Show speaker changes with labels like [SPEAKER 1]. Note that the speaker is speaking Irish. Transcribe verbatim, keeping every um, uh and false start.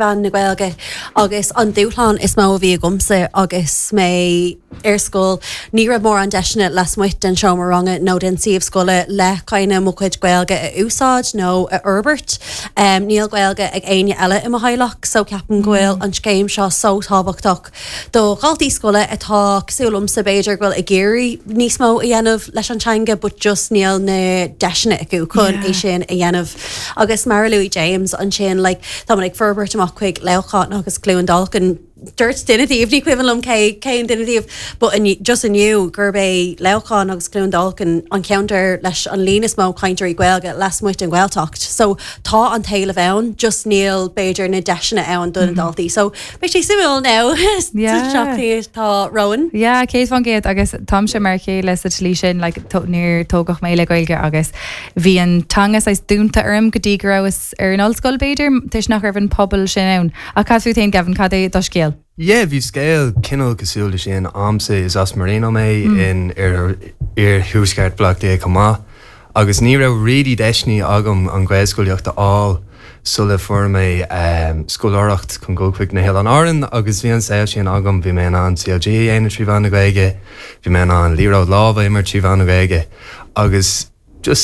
[SPEAKER 1] mheán na Gaeilge agus an dúshlán is mó a bhí agamsa agus mé ar scoil ní raibh mórán deiseanna lasmuigh den seomra ranga nó den suíomh scoile le kind of mo chuid Gaeilge a úsáid nó a fhorbairt. Um, níl Gaeilge ag éinne eile i mo theaghlach, so ceapaim go bhfuil an scéim seo so tábhachtach do dhaltaí scoile atá cosúil liomsa b'fhéidir go bhfuil ag iarraidh níos mó a dhéanamh leis an teanga, but just níl na deiseanna acu chun é sin a dhéanamh. Agus mar a luaigh James ansin like, tá ag forbairt amach chuig Leamhcán agus Cluain Dolcáin Dúirt duine díobh ní cuimhin liom cé cén duine díobh, but just inniu gurb é Leamhcán agus Cluain Dolcáin an ceantar leis an líon is mó cainteoirí Gaeilge lasmuigh den Ghaeltacht. So tá an t-éileamh ann, just níl b'fhéidir na deiseanna ann do na daltaí. So beidh sé suimiúil now tá romhainn.
[SPEAKER 2] Ja, céad faoin gcéad agus táimse mar chéile sa tslí sin like, níor tógadh mé le Gaeilge agus bhí an teanga saghas dúnta orm go dtí go rabhas ar an ollscoil b'fhéidir toisc nach raibh an pobal sin ann. A cad fút féin Gavin cad é do scéal?
[SPEAKER 3] Yeah, bhí scéal cineál cosúil le sin agamsa is as Marino mé mm. in ar iarthuaisceart Bhleá Cliath chomh maith. agus ní raibh really deiseanna agam an Ghaelscolaíocht a fháil sula fuair mé um, scoláireacht chun dul chuig na hOileáin Árann agus bhí an saol sin agam bhí mé an CLG dhéanamh trí mheán na Gaeilge, bhí mé an liathróid láimhe imirt trí mheán na Gaeilge agus just